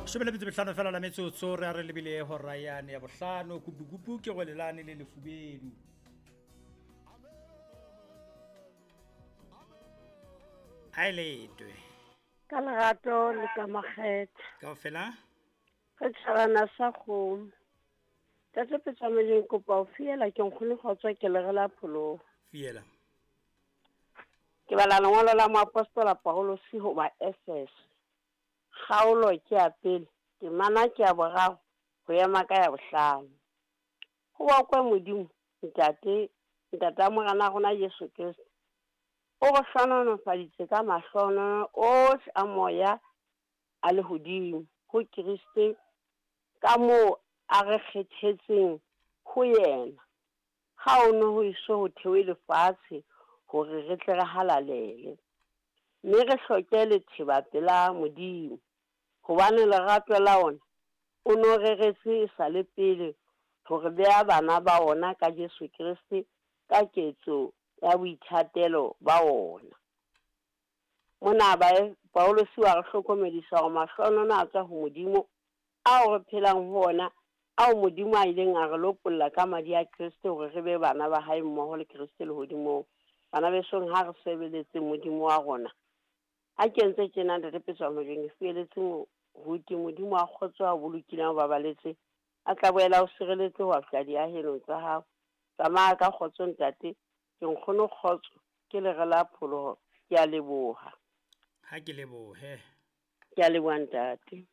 Shome le metso mehlano fela la metsotso re a re lebile hora yane ya bohlano. Kupukupu ke gwelelane le lefubedu. A e letwe. Ka lerato le ka makgethe. Kaofela? Re tjhabana sa kgomo. Tate Petsameleng kopa o fiela ke nkgono kgotso ke lere la pholoho. Fiela. Ke bala lengolo la moapostola Paulus ho ba Efese. Kgaolo ke ya pele, temana ke ya boraro ho ema ka ya bohlano. Ho bokwe Modimo, Ntate, Ntata Morena rona Jesu Kriste. O re hlohonolofaditse ka mahlohonolo ohle a moya a lehodimo ho Kriste ka moo a re kgethetseng ho yena. Ha o no ho eso ho thewe lefatshe hore re tle re halalele, mme re hloke letheba pela Modimo, hobane lerato la ona o no reretse e sa le pele hore beha bana ba ona ka Jesu Kriste ka ketso ya boithatelo ba ona. Mona Paulus wa re hlokomedisa hore mahlohonolo a tswa ho Modimo ao re phelang ho ona, ao Modimo a ileng a re lopolla ka madi a Kriste hore re be bana ba hae mmoho le Kriste lehodimong. Bana besong, ha re sebeletse Modimo wa rona. Ha ke ntse tjena Ntate Petswa Mojeng, ke fieletse moruti Modimo wa kgotso a o bolokileng a o babaletse, a tla boela o sireletse ho fihla diahelong tsa hao. Tsamaya ka kgotso ntate, ke nkgono kgotso, ke lere la pholoho. Ke a leboha. Ha ke lebohe. Ke a leboha ntate.